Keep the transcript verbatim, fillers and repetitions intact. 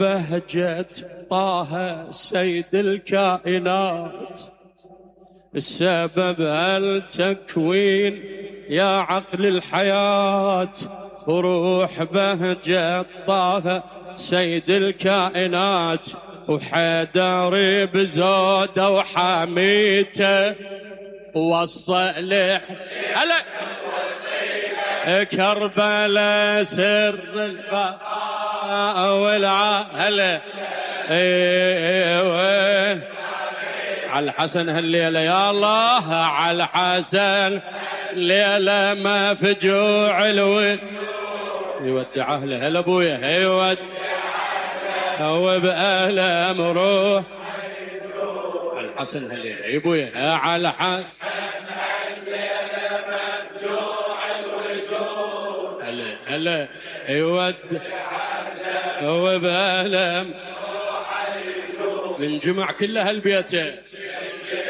بهجة طه سيد الكائنات، السبب التكوين يا عقل الحياة، وروح بهجة طه سيد الكائنات، وحيدر بزوده وحميته وصلح هلا كربلاء سر البقاء والعهل وين على الحسن هالليلة يا الله، على الحسن ليلة ما فجوع الود يودع أهله. هلا أبويا يودع وبألم روح على الحسن هالليلة يا أبويا، على الحسن هلا يودع وبألم من جمع كل هالبيته.